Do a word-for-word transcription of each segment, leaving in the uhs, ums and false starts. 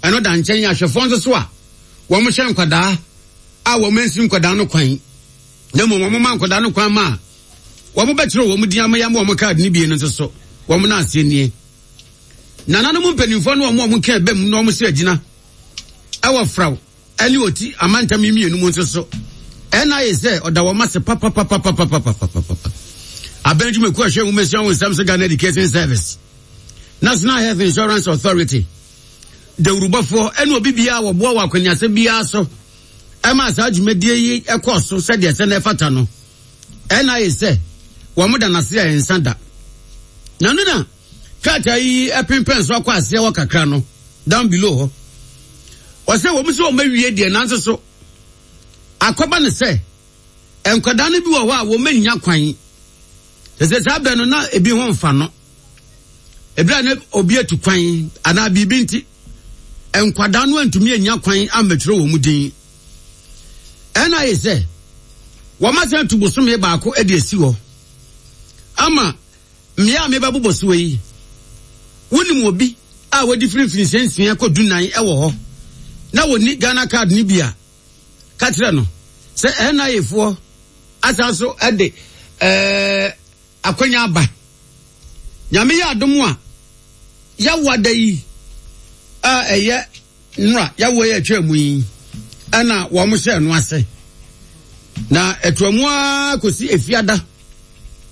Ɛno da nkyɛn, ahwɛfoɔ nso so a wɔn hyɛ nkwadaa a wɔn nsi nkwadaa no kwan, na mmom wɔn ma nkwadaa no kwan ma a wɔn bɛkyerɛ wɔn din ama yɛn wɔn kaadi no bie no nso so wɔn nan aseɛ nie. Nananom mpanimfoɔ no, wɔn a wɔn ka ɛbɛm na wɔn sɛ agyina ɛwɔ Fraw ɛne Oti amantam yi mmienu mu nso so, ɛna ayɛ sɛ ɔda wɔn ase papapapapapapapapa. Abɛn dwumakuo ahwɛ nwoma wɔn nsɛm so, Ghana Education Service, National Health Insurance Authority, dawurubɔfoɔ ɛne obi biara wɔboa wɔ akɔneasa biara so ɛma saa dwumadie yi ɛkɔɔ so sɛdeɛ sɛ na ɛfata no, ɛna ayɛ sɛ wɔn da n'ase a nsa da na no na krataa yi ɛpempɛn so akɔ aseɛ wɔ kakra no down below hɔ. Ɔsɛ wɔn sɛ wɔn awie deɛ, nanso so akɔba ne sɛ nkwadaa no bi wɔ hɔ a wɔn anya kwan sɛ saa bɛn no na ebi ho nfa no, ebi a ne obi atu kwan anaa biribi nti nkwadaa no antumi anya kwan ammɛtwerɛ wɔn din. Ɛna ayɛ sɛ wɔn asan atu bosome baako de asi hɔ ama mmea a mebɛbobɔ so yi. Wonim obi a wɔdi firi mfirinhyia nsia kɔ dunan ɛwɔ hɔ na wɔni Ghana Card ni bi a, ka kyerɛ no sɛ N I A foɔ asan so ɛde ɛɛ akwanya aba. Nyame yɛ adom a, yɛawo da yi a ɛyɛ nnora yɛawo yɛ atwa mu yi ɛna wɔn hyɛ no ase na ɛtoa mu ara kɔsi Efiada,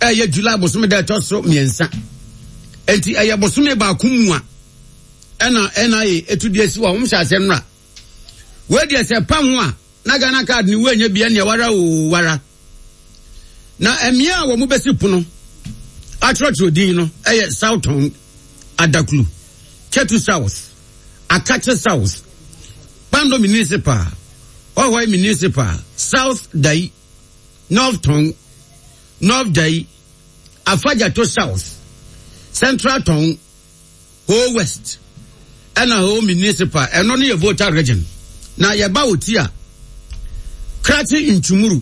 ɛyɛ July bosome da ɛtɔ so mmiɛnsa. Enti ɛyɛ bosome baako mu a ɛna N I A etu deɛ si wɔ wɔn hyɛ ase nnora. Wei deɛ, sɛ pam ho a na Ghana Card ni wɔnyɛ bia nea wara o wara. Na mmea a wɔn bɛsi pono atwerɛtwerɛ din no ɛyɛ South Tongu, Adaklu, Ketu South, Akatsi South, Kpando Municipal, Hohoe Municipal, South Dayi, North Tongu, North Dayi, Afadjato South, Central Tongu, Ho West ɛna Ho Municipal. Ɛno no yɛ Volta Region. Na yɛba wɔ ti a, Krachi Nchumuru,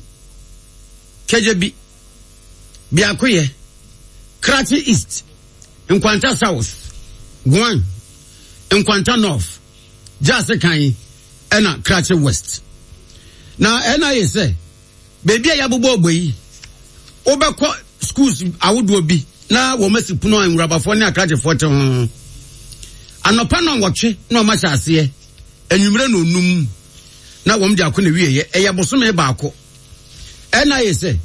Kadjebi, Biakoye, Krachi East, Nkwanta South, Guan, Nkwanta North, Jasikan ɛna Krachi West. Na ɛna yɛ sɛ beebi a yɛabobɔ ɔbɔ yi, wobɛkɔ schools ahodoɔ bi na wɔn asi pono a nwurabafoɔ ne akrakyefoɔ te ho. Anɔpa na wɔtwe na wɔn ahyɛ aseɛ, anwummerɛ na onum na wɔn de akɔ na wieɛ. Ɛyɛ bosome baako. Ɛna yɛ sɛ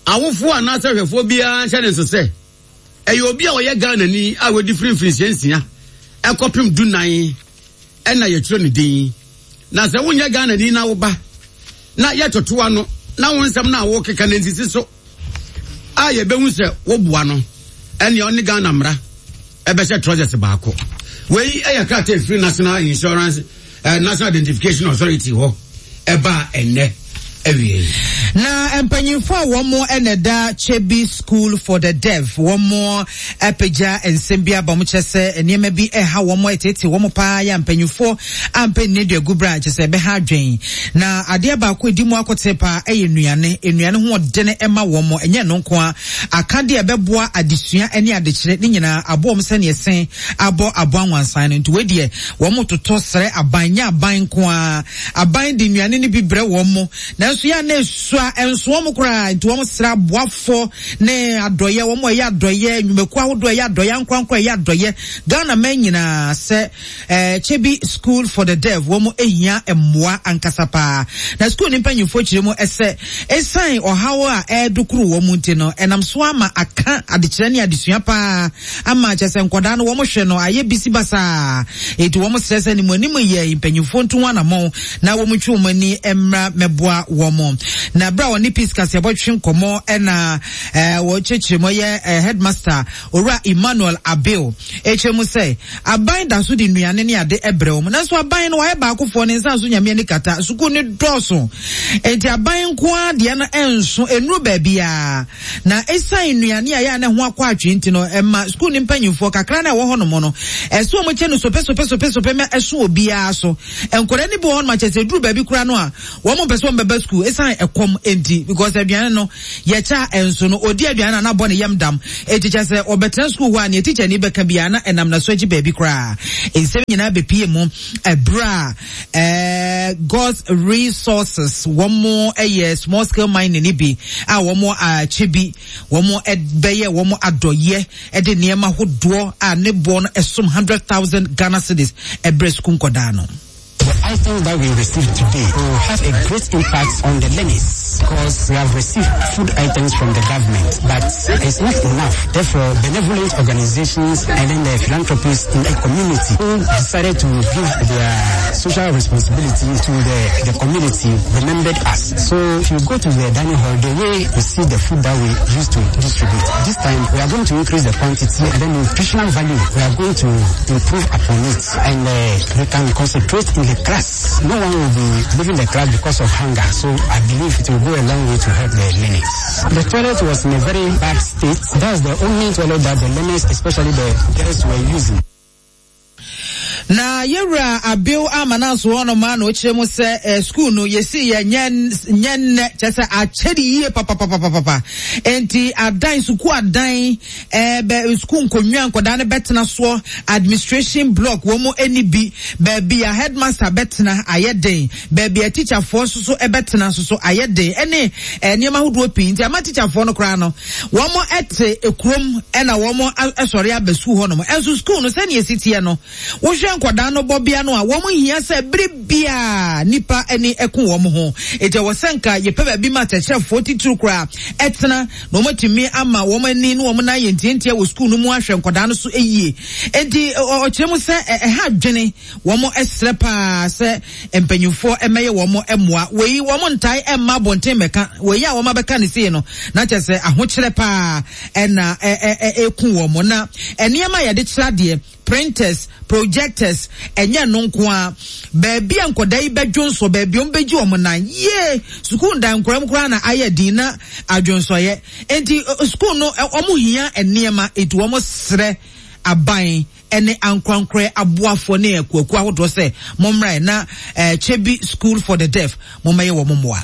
awofoɔ anaasɛ ahwɛfoɔ biara nhyɛ ne nso sɛ ɛyɛ obi a ɔyɛ Ghanani a wɔdi firi mfirinhyia nsia ɛkɔpem dunan ɛna yɛtwerɛ ne din. Na sɛ wonyɛ Ghanani na woba na yɛtotoa no na wo nsɛm no a wokeka no nsisi so a, yɛbɛhu sɛ woboa no, ɛnea ɔne Ghana mmara ɛbɛhyɛ trousers baako. Wei ɛyɛ krataa efiri National Insurance, uh, National Identification Authority hɔ ɛbaa ɛnɛ awie. Na mpanyinfo a wɔn ɛna da Kyebi School for the Deaf, wɔn apagya nsɛm bi aba. Wɔn kyerɛ sɛ nneɛma bi ɛha wɔn, ɛtete wɔn paa. Yɛ mpanyinfoɔ ampɛ nne dua gu bra kyerɛ sɛ ɛbɛha adwen. Na adeɛ baako edi mu akote paa ɛyɛ nnuane. Nnuane ho ɔdene ɛma wɔn. Ɛnyɛ no nko a, akadeɛ ɛbɛboa adesua ɛne adekyerɛ ne nyinaa aboɔ wɔn sɛnea ɛsɛn abɔ aboa nwansan no. Nti wei deɛ, wɔn totɔ srɛ aban. Nyɛ aban nko a, aban de nnuane no bi brɛ wɔn mo, nanso yɛ a na esua nso wɔn koraa. Nti wɔn srɛ aboafoɔ ne adɔyɛ, wɔn a ɛyɛ adɔyɛ, nnwumakuo ahodoɔ ɛyɛ adɔyɛ, ankorankora ɛyɛ adɔyɛ, Ghana man nyinaa sɛ ɛɛ Kyebi School for the Deaf, wɔn ehia mmoa ankasa paa. Na school ne mpanyinfoɔ kyerɛ mu ɛsɛ esan ɔhaw a ɛɛdokoro wɔn nti no, ɛnam so ama aka adekyerɛ ne adesua paa, ama kyerɛ sɛ nkwadaa no wɔn hwɛ no ayɛ bisi basaa. Eti wɔn srɛ sɛ ne mu anim yɛ mpanyinfoɔ nto wɔn anamɔn na wɔn twe wɔn ani mmra mɛboa wɔn. Na abira wɔn ne Peace Kaseɛbɔ twe nkɔmɔ, ɛna ɛɛ wɔkyerɛkyerɛ mu, ɛyɛ ɛɛ headmaster Owura Emmanuel Abil ekyerɛ mu sɛ aban da so de nnuane ne ade ɛbrɛ wɔn, nanso aban no wɔayɛ baakofoɔ ne nsa so Nyame ani kata sukuu ne dɔɔso, nti aban nko ara deɛ no ɛnso enuru baabiara. Na esan nnuane a yɛ a ne ho akɔ atwe nti no, ɛma sukuu ne mpanyinfoɔ kakra na ɛwɔ hɔnom no ɛso wɔn kyɛ no sope sope sope sope ma ɛso obiara so. Nkwadaa no bi wɔ hɔnom akyɛ sɛ duru baabi koraa no a, wɔn mpɛ sɛ wɔn bɛba. school esan ɛkɔm enti because aduane no yɛkyɛ ɛnso no odi aduane na anabɔ ne yam dam eti kyɛ sɛ ɔbɛtena school hɔ a nea teacher ni bɛka biara na ɛnam n'aso akyi baabi koraa. Nsɛm nyinaa bɛpie mu ɛberɛ a ɛɛ God's Resources wɔn ɛyɛ small scale mining ni bi a wɔn akyɛ bi wɔn bɛyɛ wɔn adɔyɛ ɛde nneɛma hodoɔ a ne boɔ no ɛsom hundred thousand Ghana cedis ɛbrɛ sukuu nkɔdaa no. The items that we received today will have a great impact on the learners because we have received food items from the government, but it's not enough. Therefore, benevolent organizations and then the philanthropists in the community who decided to give their social responsibility to the, the community remembered us. So if you go to the dining hall, the way you see the food that we used to distribute, this time we are going to increase the quantity and then nutritional value, we are going to improve upon it, and uh, we can concentrate in the class. No one will be leaving the class because of hunger. So I believe it will go a long way to help the learners. The toilet was in a very bad state. That's the only toilet that the learners, especially the girls, were using. Na yɛwura Abew ama na nso hɔnom a na ɔkyerɛ mu sɛ eh, school no yɛsi yɛ nyɛ nyɛ nnɛ, kyerɛ sɛ akyɛde yie papapapapa. Enti adan, sukuu adan, eh, bɛ sukuu nkonnwa nkɔdaa no bɛtena soɔ, administration block wɔn mu ani bi, baabi a headmaster bɛtena ayɛ den, baabi a teacherfoɔ nso so bɛtena nso so ayɛ den, ɛne eh, nneɛma ahodoɔ pii. Nti ama teacherfoɔ no koraa no wɔn ɛte ekurom ɛna wɔn ɛsɔre aba sukuu hɔnom. Ɛnso sukuu no sɛnea esi teɛ no, wohwɛ nkɔdaa no bɔbea no a, wɔn hia sɛ bere bia nipa ani ɛko wɔn ho. Eti ɛwɔ sɛ nka yɛpɛ baabi ma akyerɛkyerɛfoɔ titiri koraa ɛtena na wɔn atumi ama wɔn ani ne wɔn nan yɛ ntiantia wɔ sukuu no mu ahwɛ nkɔdaa no so yie. Eti ɔkyerɛ mu sɛ ɛha adwene, wɔn ɛsrɛ paa sɛ mpanyinfoɔ ɛmɛyɛ wɔn ɛmoa. Wei wɔn ntae ɛmma abɔnten mɛka wei a wɔn abɛka ne sei no na kyerɛ sɛ ahokyerɛ paa ɛna ɛ ɛ ɛku wɔn. Na nneɛma a yɛde kyerɛ adeɛ, printers, projectors, ɛnyɛ no nko a, baabi a nkɔdaa yi bɛdwonsɔ, baabi a wɔn bɛgye wɔn nan yie, sukuu ndan nkɔla mu koraa na ayɛ din na adwonsɔyɛ. Nti sukuu no wɔn hia nneɛma, eti wɔn srɛ aban ɛne ankorankorɛ aboafoɔ ne akuakuo ahodoɔ sɛ mommra na ɛɛ Kyebi School for the Deaf mommɛyɛ wɔn mmoa.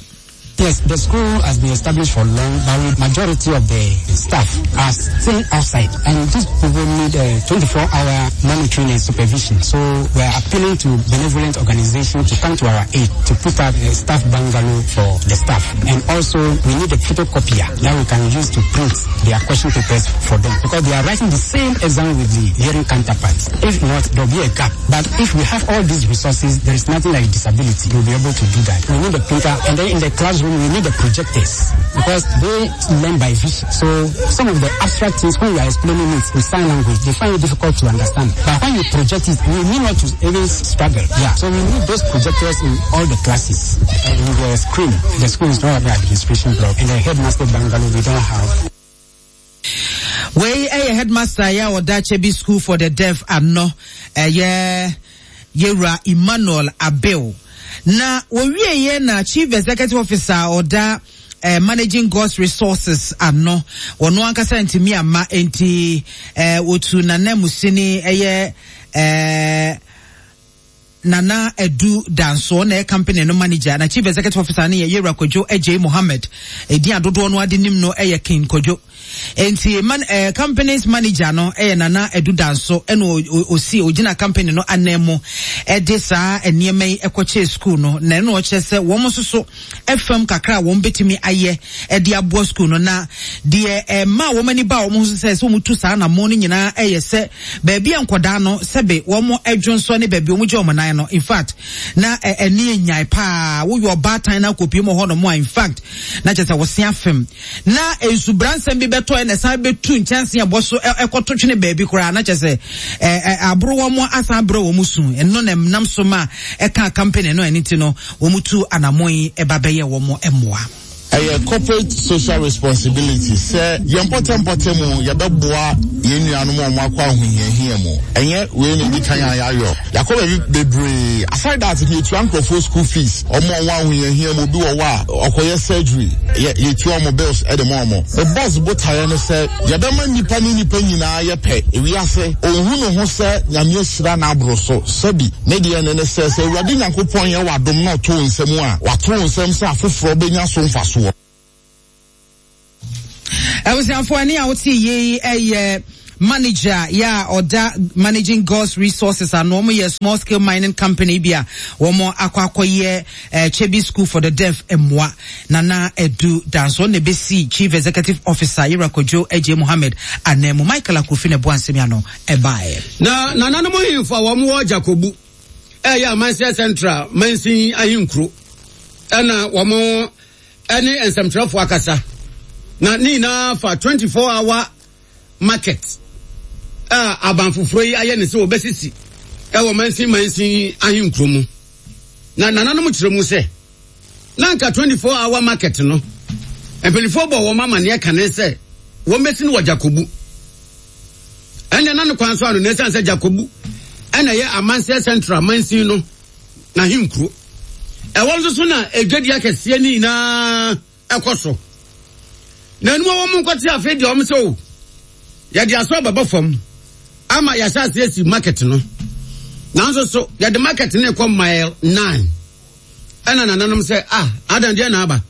Yes, the school has been established for long, but the majority of the staff are still outside, and these people need a twenty-four hour monitoring and supervision. So we are appealing to benevolent organizations to come to our aid to put up a staff bungalow for the staff. And also we need a photocopier that we can use to print their question papers for them, because they are writing the same exam with the hearing counterparts. If not, there will be a gap. But if we have all these resources, there is nothing like disability. We'll be able to do that. We need a printer, and then in the classroom, we need the projectors, because they learn by vision. So some of the abstract things, when you are explaining it with sign language, they find it difficult to understand. But when you project it, we need not to even struggle. Yeah. So we need those projectors in all the classes. And in the screen, the school is not the administration block, and the headmaster bungalow we don't have. Wei ɛyɛ headmaster yɛ a ɔda Kyebi School for the Deaf ano, ɛyɛ yɛwura Emmanuel Abew. Na wɔwie yɛ na chief executive officer ɔda eh, Managing God's Resources ano, wɔno ankasa ntumi ama, enti eh, wɔtu nana musini ɛyɛ eh, Nana Edu Danso na ɛyɛ company no manager, na chief executive officer no yɛ yɛwura Kwadwo Adjei Mohammed. Edin adodoɔ no ade nim no ɛyɛ King Kwadwo. Enti man, eh, company's manager no ɛyɛ Nana Edu Danso, ɛna osi ogyina company no anan mu ɛde saa nneɛma yi ɛkɔkyɛ school no. Na ɛno ɔkyerɛ sɛ wɔn nso so ɛfam kakra a wɔn bɛtumi ayɛ ɛde aboa school no. Na deɛ ɛma wɔn ani ba wɔn ho sɛ sɛ wɔn tu saa anamɔ no nyinaa ɛyɛ sɛ baabi a nkɔdaa no sɛbe wɔn ɛdwonsɔ ne baabi wɔn gye wɔn nan no, in fact na ɛni enyae paa. Woyɛ ɔbaatan na akɔpie mu hɔ nom a, in fact na kyerɛ sɛ wɔse afem na nsubransɛm bi bɛtɔ ɛna ɛsan bɛtu nkyɛnse ɛbɔ so ɛkɔto twene baabi koraa, na kyerɛ sɛ ɛɛ aboro wɔn asan abrɛ wɔn su. Ɛno na ɛnam so ma ɛka company no, ɛne ti no wɔn tu anamɔ yi ɛba bɛyɛ wɔn mmoa. Ɛyɛ corporate social responsibility sɛ yɛn mpɔtɛmpɔtɛ mu yɛbɛboa yɛn nuanom a wɔn akɔ ahohiahia mu. Ɛnyɛ wei na edi kan a yɛayɔ. Yɛakɔ baabi bebree. Aside that, yɛtua nkurɔfoɔ school fees. Wɔn a wɔn ahohiahia mu, obi wɔ hɔ a ɔkɔyɛ surgery, yɛ yɛtua wɔn bills ɛde ma wɔn. The boss botaeɛ no sɛ yɛbɛma nnipa ne nnipa nyinaa yɛ pɛ. Ewiase, onhu ne ho sɛ Nyame ahyira n'aboro so. Sɛbi, ne deɛ ne ne sɛ, sɛ Awurade Nyankopɔn yɛ w'adom na ɔto wo nsam a, wato wo nsam sɛ afoforɔ bɛnya so mfasoɔ. Abusuafoɔ, ɛne a wote yie yi ɛyɛ manager yɛ a ɔda Managing God's Resources ano. Wɔn yɛ small scale mining company bi a wɔn akɔ akɔyɛ ɛɛ Kyebi School for the Deaf mmoa. Nana Edu Danso na ebesi chief executive officer Yɛrɛ Kojo Agye Mohammed ananmu. Michael Akrofi na ɛboa nsɛm ano ɛbaeɛ. Na nananom ahemfo a wɔn wɔ Jakobu, ɛyɛ Amanseɛ Central mansin ahenkuro, ɛna wɔn ɛne nsɛmtwerɛfoɔ akasa na ne nyinaa fa twenty-four hour market a aban foforɔ yi ayɛ ne sɛ wɔbɛsisi ɛwɔ mansin mansin ahenkuro mu. Na nananom kyerɛ mu sɛ na nka twenty-four hour market no, mpanimfoɔ bɔ wɔn amanneɛ kane sɛ wɔn bɛsi no wɔ Jakobu. Ɛnna na ne kwan so ano na ɛsiane sɛ Jakobu ɛna ɛyɛ Amanseɛ Central mansin no n'ahenkuro, ɛwɔ nso so na edwadi akɛseɛ ne nyinaa ɛkɔ so. Na enum a wɔn nkɔte afei deɛ, wɔn sɛ o, yɛde asɔ bɛbɔ fam ama yɛahyɛ ase asi market no, nanso so yɛde market no kɔ Mile Nine. Ɛna nananom sɛ, ah, adan deɛ na aba.